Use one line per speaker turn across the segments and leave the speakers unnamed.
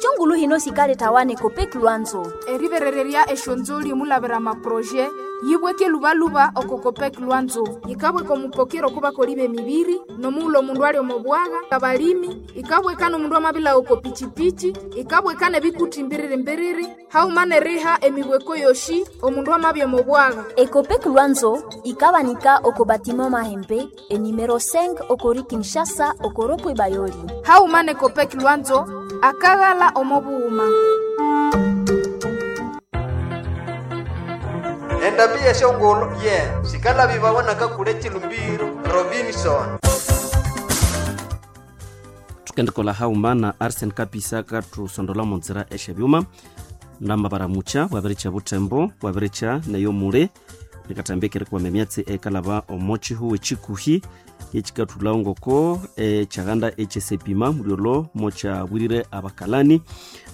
Esyongulu hino sikaletawa neCopec Lwanzo.
Eriberererya esyonzoli omulabira amaproje yibweke lubaluba oko Copec Lwanzo. Yikabweka omupokero okubakoli b'emibiri n'omughulhu omundu ali omo bwagha, abalimi, ikabweka n'omundu amabilha oko pichipichi, ikabweka n'ebikuti mbiriri-mbiriri, haghuma n'eriha emibweko yoshi omundu amabya omo bwagha.
ECOPEC Lwanzo ikabanika oko batiment Mahembe enumero 5 okori Kinshasa okoropwe Bayoli.
Haghuma n'eCopec Lwanzo akaghala omo bughuma.
Endambi y'esyongulhu ye sikalabibawa nakakule chilumbiro Robinson.
Tukendekola hauma na Arsen Kapisa katusondola munzira esyebyuma namabaramucha wabiricha butembo wabiricha neyo mule nikatambikire kwama emyatsi ekalaba omo chihuwe chikuhi ekikathulhawo ngoko ekyaganda ekyesepima mulyolo mokyabwirire abakalani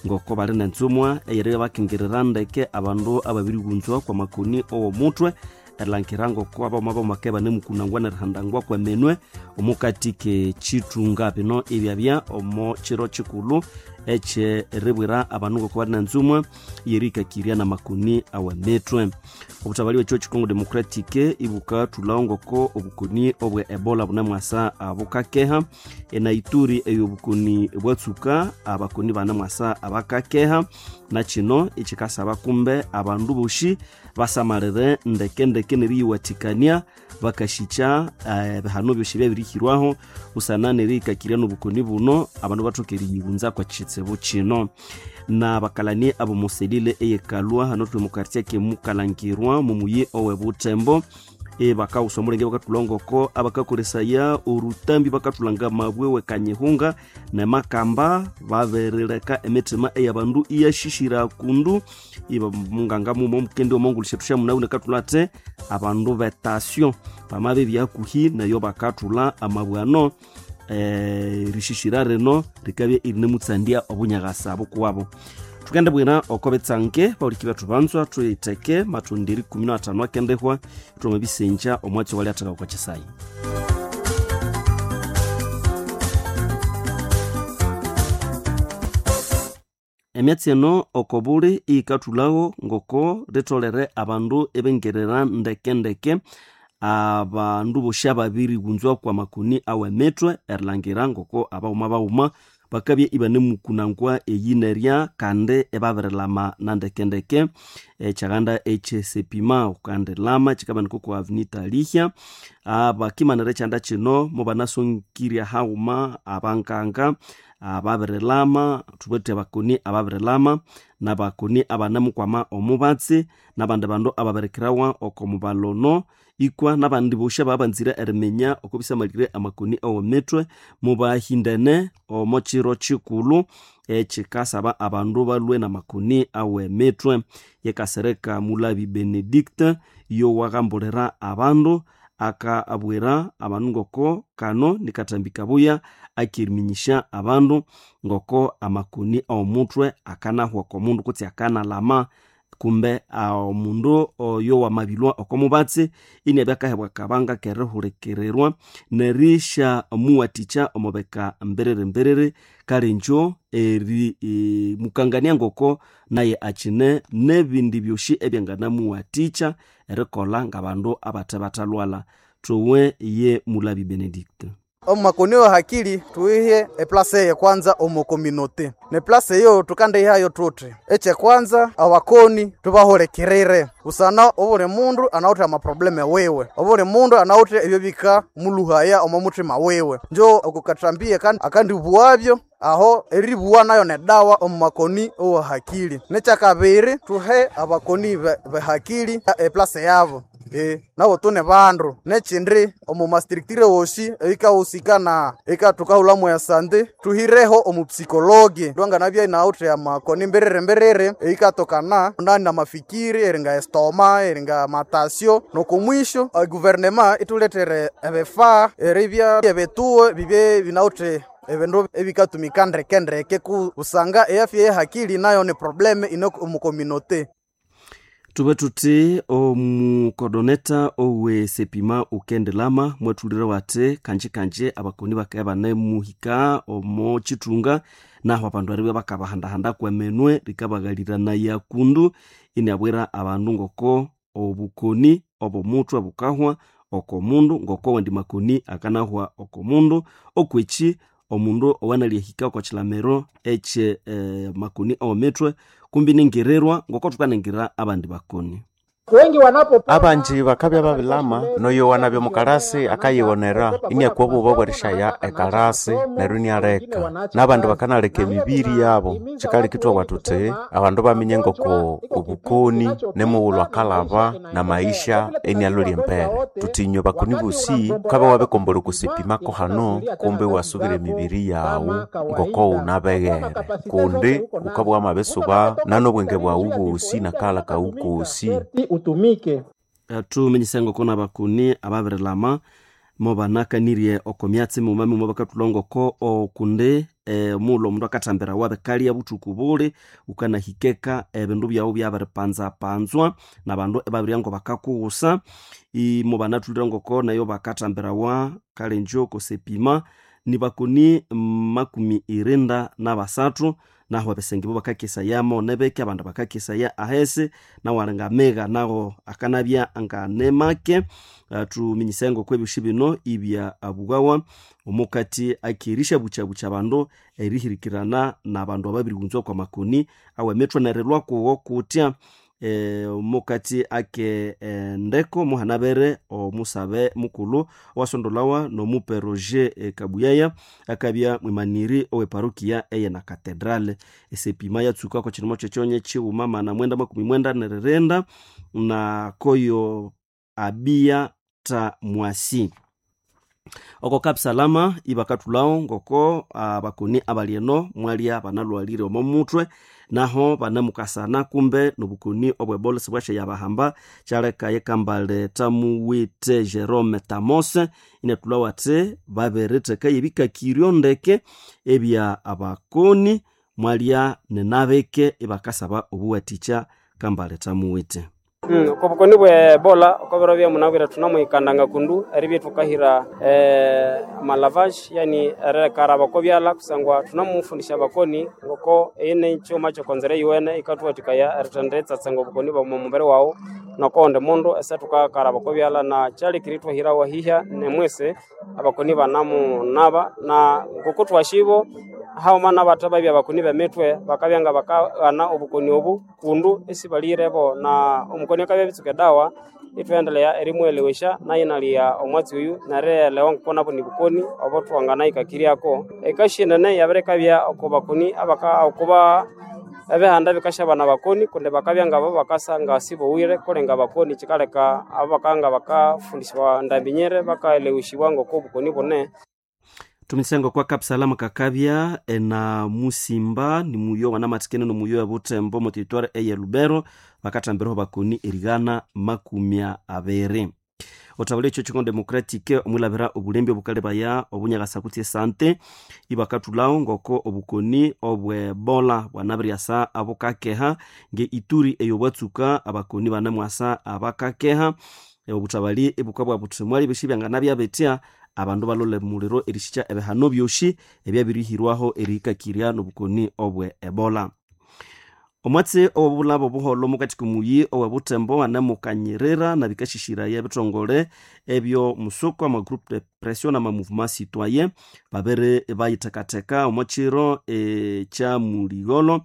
ngoko bali nenzumwa eyeri bakingirira ndeke abandu ababirighunzwa kwa makoni ow'omutwe erilhangira ngoko abawoma bamake banemukunangwa nerihandangwa kweminwe omukati k'ekyithunga. Bino ibyabya omo kiro kikulhu ekyeribwira abandu ngoko bali nenzumwa yerikakirya namakoni aw'emitwe. Obutabali bw'ekyo Congo Democratic ibukathulhawo ngoko obukoni obwe Ebola bunemwasa bukakeha. Enaituri eyo obukoni bwatsuka abakoni banemwasa abakakeha, na kino ikikasaba kumbe abandu boshi basamalire ndekendeke neriyiwathikania bakashikya ebihano byosi ebyabirihirwaho busana nerihikakirya n'obukoni buno abandu bathoke eriyighunza kwa kitsibu kino. N'abakalani ab'omuselile eyekalwa hano thuli omu quartier kemukalangirwa mumuyi owe Butembo bakawusa omulenge bakathulha ngoko abakakolesaya orutambi bakathulanga amabwe wekanyihunga nemakamba babirileka emitima eyabandu iyashishira kundu iba munganga muma omukendi omongulho syethu syamunawu nekathulha athi abandu betasyo bamabya byakuhi neyo bakathulha amabwe ano erishishira rino rikabya irinemutsandya obunyaghasa bukuwabo. Tukendibwira oko bitsange bahuliki bethu banzwa thuyitheke mathundi 15 akendihwa ithwama bisengya omwatsi owalyatheka okwa kisayi. Emyatsi eno oko buli iyikathulhawo ngoko litholere abandu ibingirira ndekendeke abandu bosi ababirighunzwa kwa makoni aw'emitwe erilhangira ngoko abawuma bawuma bakabya ibanemukunangwa eyi nerya kandi ibabirilama na ndekendeke. Ekyaganda ekyesepima ukandilama kyikabanika oko avenue Lihya. Abakimanira ekyanda kino mubanasongirya haghuma abanganga ababirilama thubwithe abakoni ababirilama nabakoni abanemukwama omubatsi nabandi bandu ababirikirawa oko mubalono ikwa nabandi bosi ababanzire eriminya oko bisamalire amakoni aw'emitwe mubahindene omo kiro kikulhu ekikasaba abandu balhwe namakoni aw'emitwe. Yekasereka Mulabi Benedict yowaghambulira abandu akabwira abandu ngoko kano nikathambi kabuya akiriminyisya abandu ngoko amakoni aw'omutwe akanahwa oko mundu kutse akanalama kumbe omundu oyo wamabilhwa oko mubatsi iniabya akahebwa akabanga kerihulikirirwa nerisya muwathikya omo bika mbiriri-mbiriri kale ingyo eri mukangania ngoko naye akyine n'ebindi byosi ebyanganamuwathikya erikolha ng'abandu abathe bathalhwalha. Thuwe ye Mulabi Benedict.
Omu makoni wa hakili tuihe eplase ye kwanza omu community ne place eyo tukandihayo tuthi ekyekwanza abakoni tubahulekirire busana obuli mundu anawithe amaprobleme wiwe, obuli mundu anawithe ebyo bika muluhaya omo muthima wiwe, njo okukathambia kandi akandibuwabyo aho eribuwa nayo nedawa omu makoni owa hakili. Nekyakabiri tuhe abakoni behakili eplase yabo nabo tune bandu. Nekyindi omu mastructure wosi eyikahusika ekathukahulhamu esante tuhireho omupsikologi lwanganabya inawithe amakoni mbiriri mbiriri eyikatokana nani namafikiri eringa estoma eringa matasyo. Nokumwisho eguvernema ithulethere ebifaa eribya ebituo bibye binawithe ebindu ebikatumika ndekendeke kusanga eafya yehakili nayo ni probleme ine omu community.
Tube tuti omukodoneta owe sepima ukendelama mwatulire wati kanji kanji abakoni bakaya banemuhika omo chitunga naho abandu aribya bakabahandahanda kwemenwe rikabaghalirana kundu iniabwira abandu ngoko obukoni obomutwe bukahwa oko mundu ngoko wendi makoni akanahwa oko mundu okweki omundu owanalihika oko chilamiro ekye makoni owomitwe kumbi ningirirwa ngoko thukaningirira abandi bakoni.
Wengi wanapo
Abanji bakabya babilama noyo wanabya omukalasi akayighonera iniakwa obuba bwerishaya ekalasi neryo inialeka n'abandi bakanaleka emibiri yabo. Kyikaleka ithwabugha thuthi abandu baminya ngoko obukoni nimughulhu akalaba n'amaisha inialolya embere. Thuthi inywe bakoni bosi wukabya wabikombolha okwa sepimako hano kumbi iwasubira emibiri yaghu ngoko wunabeghere kundi wukabya wamabisuba nanobwenge bwaghu bosi nakaghalha kaghu kosi.
Utumike.
Thuminyise ngoko nabakoni ababirilama mobanakanirye oko myatsi mighuma mighuma bakathulha ngoko okundi mughulhu omundu akathambirawa bikalya buthuku buli wukanahikeka ebindu byaghu byabiripanzapanzwa nabandu ibabirya ngo bakakuwusa. Mobanathulire ngoko nayo bakathambirawa kalenjo kosepima nibakoni 73 naho ebisenge bo bakakesayamo nebeke abandu bakakesaya ahesi nawo alinga amiga nawo akanabya nganemake. Thuminyise ngoko ebyosi bino ibya abughawa omukati akirisha buchabucha abandu erihirikirana nabandu ababirighunzwa kwa makoni awe emithwe nerilwa kuwo kutya. Omukati ake endeko muhanabere omusabe mukulhu owasondolawa nomupe Roger Kabuyaya akabya mwimaniri owe parokia eye na katedrale. Esepima yatsuka oko kirimo kyekyonye kighuma 997 na koyo abia ta mwasi. Oko Kapsalama ibakathulhawo ngoko abakoni abali eno mwalya banalhwalire omo muthwe naho banemukasana kumbe nobukoni obwebola sibwashyayabahamba kyaleka yekambale tamuwithe Jerome Tamose inathulhawo athi babiritheka ebikakiryo ndeke ebya abakoni mwalya ninabike ibakasaba obuwathikya kambale tamuwithe.
Okobukoni bwe Ebola okobiro byamunabwire thunamuhikandanga kundu eribya thukahira amalavage yani erikaraba oko byalha kusangwa thunamufundisya abakoni ngoko eyi nekyuma kyokonzera eyiwene yikathuwathikaya erithenditsatsanga obukoni bwa mubiri waghu nokowundi mundu ese thukakaraba oko byalha na kyalekire ithwahirawo hihya nemwisi abakoni banamunaba na ngoko thwasyibo haghuma nabatha babya abakoni b'emitwe bakabya nga bakaghana obukoni obu kundu esibalighirebo na omukoni akabya abitsuka edawa ithwaendelea erimwelewesya nayo inalya omwatsi oyu nerielewa ngoko nabo nibukoni obo thwanganahikakiryako. Ekasi enene yabirikabya oko bakoni okuba ebihanda bikasyabana abakoni kundi bakabya ngabo bakasa nga sibowire kulenga abakoni kyikaleka abo bakabya nga bakafundisiwa ndambi nyere bakaelewesibwa ngoko obukoni bune.
Tumisengo kwa Kapsalama kakabya ena musimba ni muyo wanamathikene nomuyo ebuthembo mu territoire eye Lubero bakathambiraho bakoni erigana 20. Othabula ekyo Congo Democratic omwilabira obulembi obukalebaya obunyakasa kutse esante ibakathulhawo ngoko obukoni obwebola bwanabiryasa abukakeha nge Ituri eyobwatsuka abakoni banemwasa abakakeha. Obuthabali ibukabwa buthi mwali ebyosi byanganabya abandu balole muliro erishikya ebihano byosi ebyabirihirwaho erihikakirya nobukoni obwe Ebola. Omwatsi owobulabo obuholho omukati komuyi owebuthembo anemukanyirira nabikashishiraya ebithongole ebyo musuko ama groupe de pression nama mouvement citoyen babiri bayithekatheka omo kiro ekya muligholo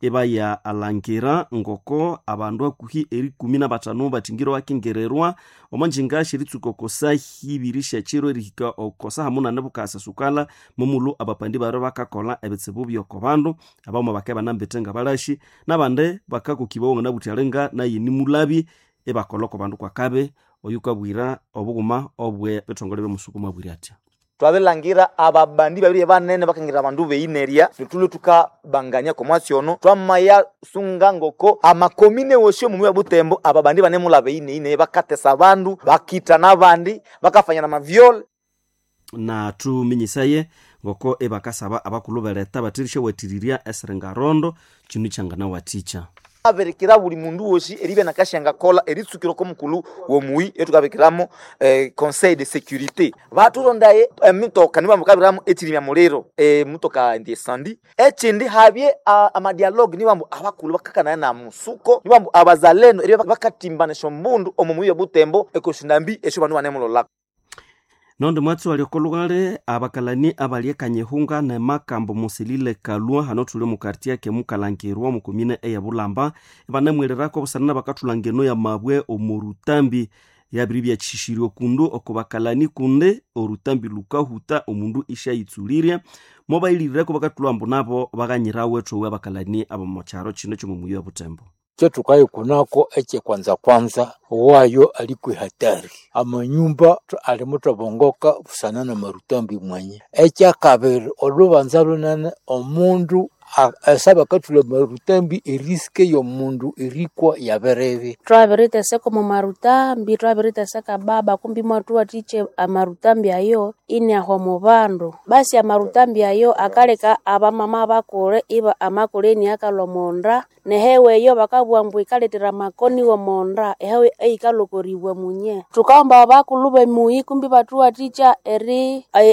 ibaya alangira ngoko abandu hakuhi erikumi nabathanu bathingire wakingirirwa omo njinga syeritsuka oko saha ibiri syekyiro erihika oko saha munane bukasa sukala momulhu abapandi bari bakakolha ebitsibu byoko bandu abawuma bakabya banambete ngabalashi nabandi bakakokibawa nganabuthi alinga naye nimulabi ibakolha oko bandu kwakabi oyukabwira obughuma obwe bithongole byomusuku mwabwire atya.
Twabilangira ababandi babiri banene bakangira abandu beineria nitulwe tukabangania komwatsi ono twamaya sunga ngoko amakomine wosio mumi wa Butembo ababandi banemula beineine bakatesa abandu bakita n'abandi bakafanya na mavyole.
Na thuminyisaye ngoko ebakasaba abakulhu beleta bathirisya wathirirya esiringarondo kinu kyanganawathikya.
Aberekera buli mundu wosi eribya nakashengakola eritsukira ko mukulu womuyi etukabikiramo conseil de sécurité baturondaye emitoka nibambu kabiramo ekirimya muliro mutoka ndi sandi ekindi habye amadialogue nibambu abakulu bakakanaya na musuko nibambu abazalendo eribya bakatimbanisha omundu omu muyi obutembo ekoshinambi esyo bandu banemulolako.
Nondi mwatsi wali okolugale abakalani abali ekanyihunga nemakambo musilile kalua hano thuli omu quartier kemukalangirwa omu komine eya Bulamba ibanamwiriraku obusana nabakathulanga eno ya mabwe omu rutambi yabiri byakishishirwe kundu oko bakalani kundi orutambi lukahuta omundu ishayitsulirye mobayilirireku bakathulha ambu nabo baghanyirawe ethowe abakalani abomu kyaro kino kyomu muyi wa Butembo.
Kyetukayikunako ekyekwanza kwanza wayo alikwi hatari amanyumba alimuthabongoka busana na marutambi mwanya. Ekyakabiri olhubanza lunene omundu esabakathulha marutambi eriske yomundu erikwa yabiribi.
Twabiriteseka omu marutambi, twabiriteseka baba kumbi mwathuwathikya amarutambi ayo iniahwa omu bandu. Basi amarutambi ayo akaleka abamama bakule iba amakule iniakalhwa omonda nehewa eyo bakabugha ambu yikalethera amakoni w'omonda ehewa eyikalhwa okoribwa munye. Thukaghomba abakulhu b'emuyi kumbi ibathuwathikya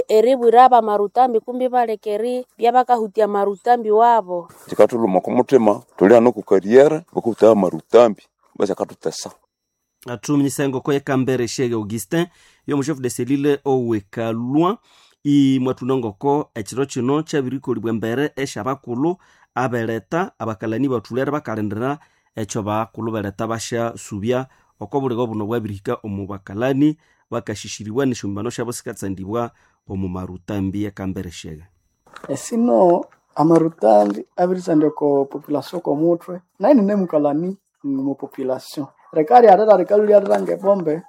eribwira abamarutambi kumbi ibaleka eribya bakahutya amarutambi wabo.
Kikathuluma oko muthima thuli hano oku kariyere bakahutaya amarutambi basi akathutesa.
Athuminyisa engoko yekambere Shege Augustin yomu chef de cellule owekalwa imwathuna ngoko ekiro kino kyabirikolibwa embere esyabakulhu abeleta abakalani bathulere bakalindira ekyo bakulhu beleta basyasubya oko buligo buno bwabirihika omu bakalani bakashishiribwa nesyombano syabo sikatsandibwa omu marutambi ekambere Shege.
Esino amarutambi abiritsandya oko population komuthwe nayi ninemukalani mu population rikalyalira rikalhulyalira ngebombe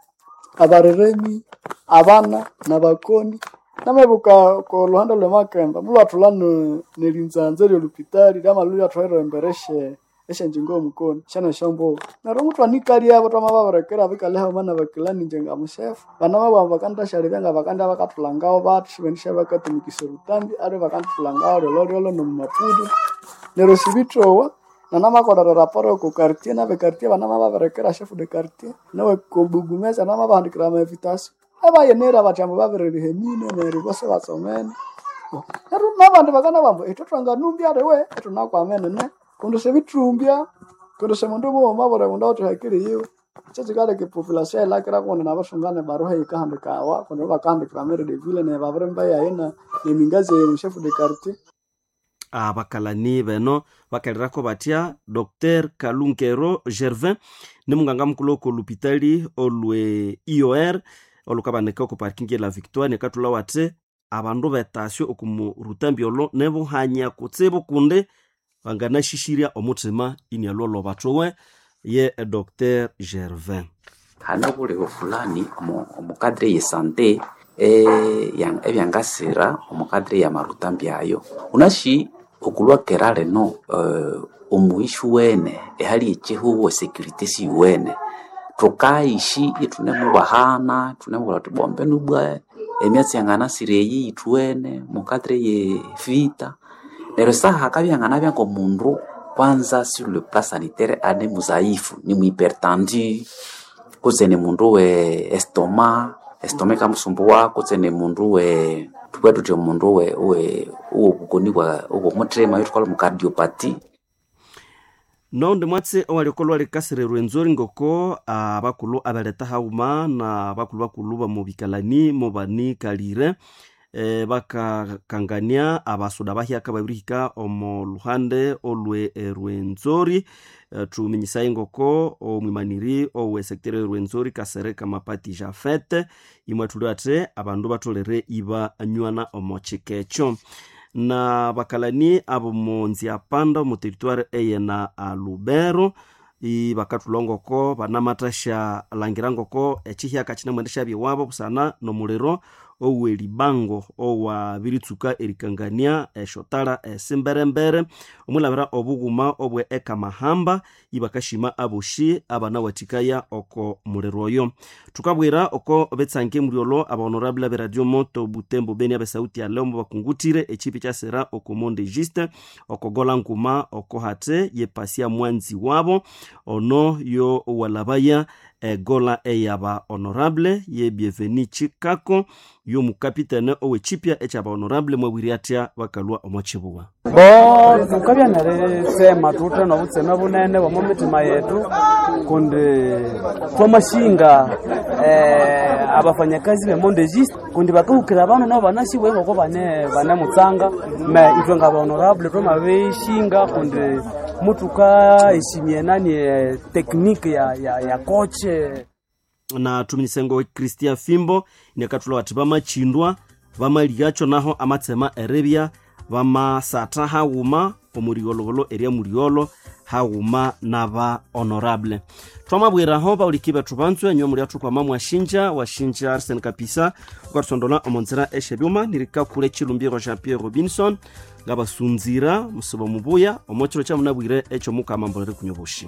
abareremi abana nabakoni namebuka oko luhande lwemakemba mulwathulha nerinzanza eryolupitali lyamalhu lyathwalira embere esyanjingo yomukoni syanesyombuba neryo muthwanikalyabo twamababirekera bikalya haghuma nabakilani inje ngamushefu banamabugha ambu bakandisyalebya ngabakandibya bakathulhangawo bathi ibendisya bakatumikisya orutambi aliwe bakandithulhangawo lyolholyolho nomumapudo neryo sibithowa nanamakolera raporo oko quartier nabe quartier banamababirekera chef de quartier nawe kobugumesa namabahandikira ama invitation abayenera bathi ambu babiririha emine neryo bose batsomene. Neryo nabandi bakanabugha ambu ithwe thwanganumbya aliwe ithunakwamene ne kundi sibithumbya kundi simundu mughuma buli mundu awithe ehakili yiwe kyekikaleka epopulation eyilakira kundi nabathungana ebaruha eyikahandikawa kundi bakahandikira maire de ville neryo babirimba yayi nemingazi eyo chef de quartier.
Abakalani beno bakalirako batya Dr Kalungero Gervin ni munganga mukulhu oko lupitali olwe IOR olukabanika oko parking la Victoire nekathulha wathi abandu betasyo oku murutambi olo nebuhanya kutsibu kundi banganashishirya omuthima inialhwa bathowe ye Dr Gervin.
Hane obuligo fulani omu cadre ye sante ebyangasira omu cadre ya marutambi ayo unashi okulwa kera lino omuishi wene ehali ekihugo security siwene thukaishi ithunemubahana thunemubwira thuthi bombe nubwa emyatsi yanganasira eyi ithuwene mukadre ye vita neryo saha hakabya hanganabya ngomundu kwanza sur le plan sanitaire ane muzaifu ni muhypertendu kutse ni mundu we estoma estoma ikamusumbuwa kutse ni mundu we thubwe thuthi omundu we owobukoni bwa obomuthima ethukalha mu cardiopathy.
Noundi mwatsi owaliokolwa likasirerwa enzori ngoko abakulhu abeleta haghuma na bakulhu bakulhu bamubikalani mubanikalire bakakangania abasuda bahyaka babirihika omu luhande olwe Rwenzori. Thuminyisaye ngoko omwimaniri owe sector Rwenzori Kasereka Mapati Jafet imwathulwe athi abandu batholere ibanywana omo kika ekyo na bakalani abo munziapanda omu territoire eyena Lubero ibakathulha ngoko banamathasya langira ngoko ekihyaka kinamwendesya iwabo busana nomuliro. owelibango owabiritsuka erikangania eshotara esimberembere omwilabira obughuma obwe ekamahamba ibakashima aboshi abanawathikaya oko muliro oyo. Thukabwira oko betsange mulyolo abahonorable be Radio Moto Butembo Beni abesauti ya leo bakungutire echipi kyasera oko Monde Juste okogola nguma oko hate yepasia mwanzi wabo ono yo walabaya egola eyaba honorable ye Bienveni Chikako yo mukapitene owechipya ekyaba honorable mwabwiri atya bakalwa omwachibuwa.
Bo tukabya nerisema tuthe nobutseme bunene bw'omu mitima yetu kundi twamashinga abafanyakazi be Monde Juste kundi bakahukira abandu nabo banasibwe ngoko bane banemutsanga me ithwe nga honorable twamabishinga kundi mutuka eshimie nani tekniki ya koche
na tuminisengo Christian Fimbo inakathulwa ati bamachindwa bamaliacho naho amatsema erebya bamasatha haghuma omurigologolo eria muriolo haghuma naba honorable. Twamabwiraho bauliki bethu banzwe enywa muri athukwama mwashinja washinja Arsene Kapisa ukathusondola omonzira eshebyuma nirikakule chilumbiro Jean Pierre Robinson ngabasunzira musibo mubuya omokiro kyamunabwire ekyo mukama mbolere kunywa obushi.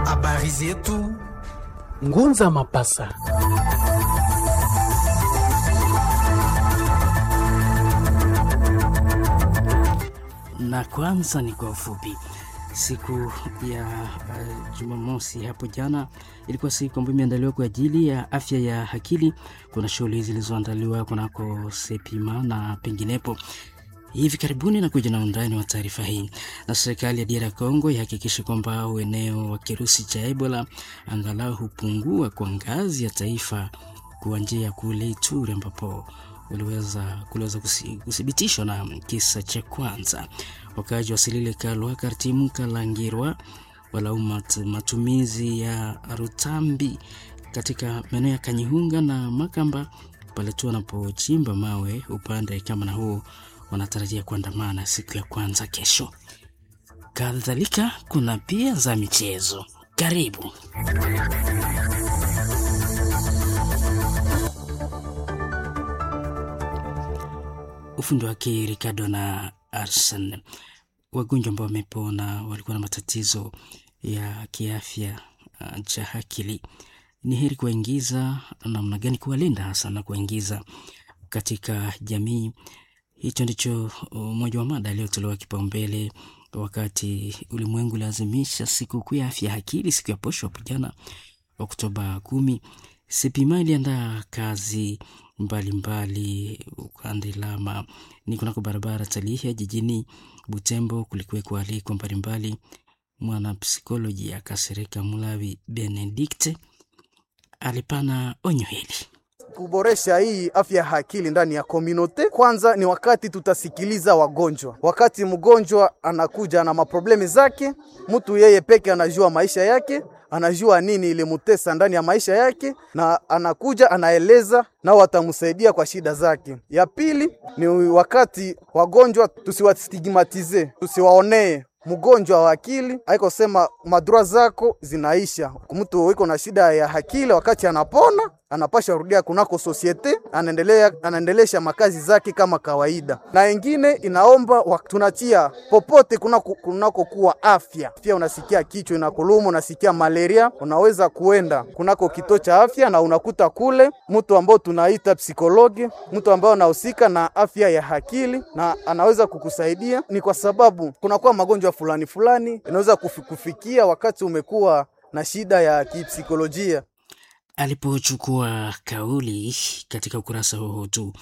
Habari zetu Ngunza Mapasa.
Na kwanza ni kwa ufupi. Siku ya Jumamosi hapo jana ilikuwa siku ambayo imeandaliwa kwa ajili ya afya ya akili. Kuna shughuli zilizoandaliwa kunako Sepima na penginepo hivi karibuni na kuja na undani wa taarifa hii. Na serikali ya DR Congo ihakikishe kwamba ueneo wa kirusi cha Ebola angalau hupungua kwa ngazi ya taifa kuanzia kule Ituri ambapo kuliweza kuthibitishwa na kisa cha kwanza. Wakazi wa Silile Kalwa Kartimu Kalangirwa walaumu matumizi ya rutambi katika maeneo ya Kanyihunga na Makamba pale tu wanapochimba mawe upande kama na huo wanatarajia kuandamana siku ya kwanza kesho. Kadhalika kuna pia za michezo. Karibu. Ufundi wake Ricardo na Arsen. Wagonjwa ambao wamepona walikuwa na matatizo ya kiafya cha akili, ni heri kuwaingiza namna gani, kuwalinda hasa na kuwaingiza katika jamii. Hicho ndicho mmoja wa mada aliyotolewa kipaumbele wakati ulimwengu lazimisha sikukuu ya afya akili siku ya posho hapo jana Oktoba 10. Sepima iliandaa kazi mbalimbali ukande lama ni kunako barabara Talihia jijini Butembo. Kulikuweko aliko mbalimbali. Mwanapsikolojia Kasereka Mulawi Benedikte alipana onyo hili.
Kuboresha hii afya ya akili ndani ya community, kwanza ni wakati tutasikiliza wagonjwa. Wakati mgonjwa anakuja na maproblemi zake, mtu yeye peke anajua maisha yake, anajua nini ilimutesa ndani ya maisha yake, na anakuja anaeleza, na watamsaidia kwa shida zake. Ya pili ni wakati wagonjwa tusiwastigmatize, tusiwaonee mgonjwa wa akili haiko sema madura zako zinaisha. Mtu iko na shida ya akili, wakati anapona anapasha rudia kunako sosiete, anaendelea anaendelesha makazi zake kama kawaida. Na ingine inaomba tunatia popote kunako kuwa afya. Pia unasikia kichwa inakuluma, unasikia malaria, unaweza kuenda kunako kituo cha afya na unakuta kule mtu ambao tunaita psikologi, mtu ambao anahusika na afya ya akili na anaweza kukusaidia. Ni kwa sababu kunakuwa magonjwa fulani fulani inaweza kufikia wakati umekuwa na shida ya kipsikolojia.
Alipochukua kauli katika ukurasa huo tu,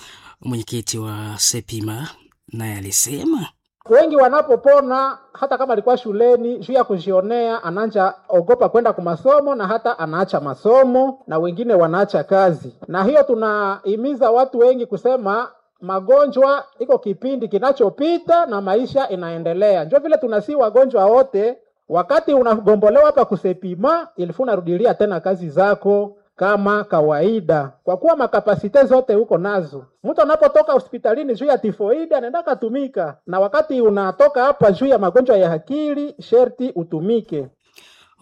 mwenyekiti wa Sepima naye alisema
wengi wanapopona hata kama alikuwa shuleni juu ya kujionea, ananja ogopa kwenda kwa masomo na hata anaacha masomo, na wengine wanaacha kazi. Na hiyo tunahimiza watu wengi kusema magonjwa iko kipindi kinachopita na maisha inaendelea. Njo vile tunasi wagonjwa wote, wakati unagombolewa hapa kusepima, ilifuna rudilia tena kazi zako. kama kawaida, kwa kuwa makapasite zote uko nazo. Mtu anapotoka hospitalini juu ya tifoidi anaenda katumika, na wakati unatoka hapa juu ya magonjwa ya akili sherti utumike.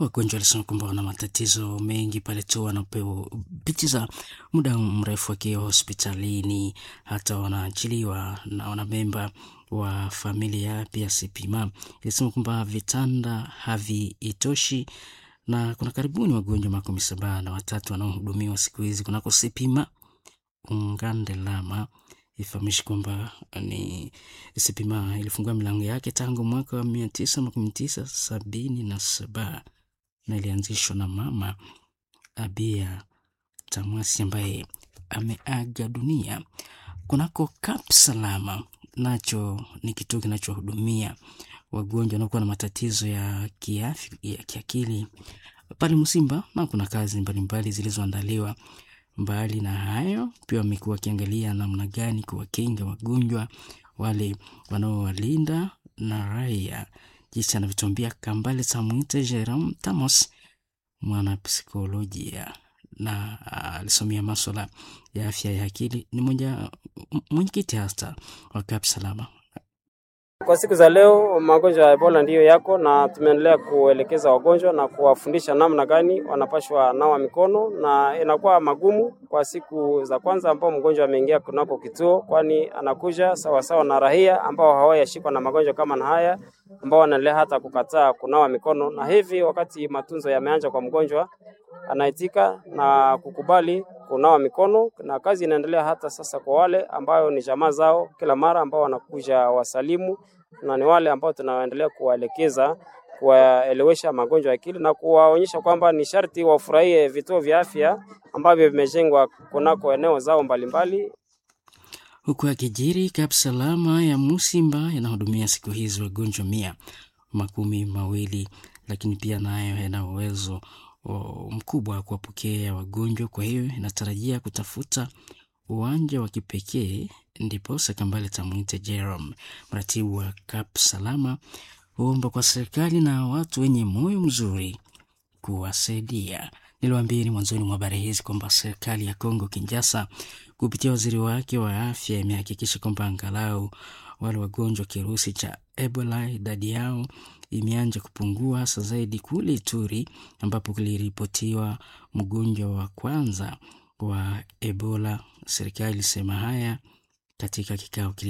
Wagonjwa walisema kwamba wana matatizo mengi pale tu wanapopitiza muda mrefu wakiwa hospitalini, hata wanaachiliwa na wanamemba wa familia. Pia Sipima ilisema kwamba vitanda haviitoshi na kuna karibuni wagonjwa 73 wanaohudumiwa siku hizi kunako Sipima Ungandelama. Ifahamishi kwamba ni Sipima ilifungua milango yake tangu mwaka wa 1997 na ilianzishwa na Mama Abia Tamwasi ambaye ameaga dunia. Kunako Kap Salama nacho ni kituo kinachohudumia wagonjwa wanaokuwa na matatizo ya kiafya ya kiakili pale Msimba, na kuna kazi mbalimbali zilizoandaliwa. Mbali na hayo, pia wamekuwa wakiangalia namna gani kuwakinga wagonjwa wale wanaowalinda na raia, jinsi anavyotuambia Kambale Samwite Jerome Tamos, mwanapsikolojia na alisomea maswala ya afya ya akili, ni mmoja mwenyekiti hasa wa Kap Salama.
Kwa siku za leo magonjwa ya Ebola ndiyo yako na tumeendelea kuelekeza wagonjwa na kuwafundisha namna gani wanapashwa nawa mikono, na inakuwa magumu kwa siku za kwanza ambao mgonjwa ameingia kunako kituo, kwani anakuja sawasawa na raia ambao hawayashikwa na magonjwa kama na haya, ambao wanaendelea hata kukataa kunawa mikono, na hivi wakati matunzo yameanza kwa mgonjwa anaitika na kukubali kunawa mikono, na kazi inaendelea hata sasa kwa wale ambayo ni jamaa zao kila mara ambao wanakuja wasalimu, na ni wale ambao tunaendelea kuwaelekeza, kuwaelewesha magonjwa ya akili na kuwaonyesha kwamba ni sharti wafurahie vituo vya afya ambavyo vimejengwa kunako eneo zao mbalimbali.
Huku akijiri, Kap Salama ya Musimba yanahudumia siku hizi wagonjwa 120, lakini pia nayo yana uwezo mkubwa wa kuwapokea wagonjwa. Kwa hiyo inatarajia kutafuta uwanja wa kipekee, ndiposa Kambale Tamwite Jerome, mratibu wa Kap Salama, huomba kwa serikali na watu wenye moyo mzuri kuwasaidia. Niliwaambieni mwanzoni mwa habari hizi kwamba serikali ya Kongo Kinshasa kupitia waziri wake wa afya imehakikisha kwamba angalau wale wagonjwa kirusi cha Ebola idadi yao imeanza kupungua, hasa zaidi kule Ituri ambapo kuliripotiwa mgonjwa wa kwanza wa Ebola. Serikali ilisema haya katika kikao kili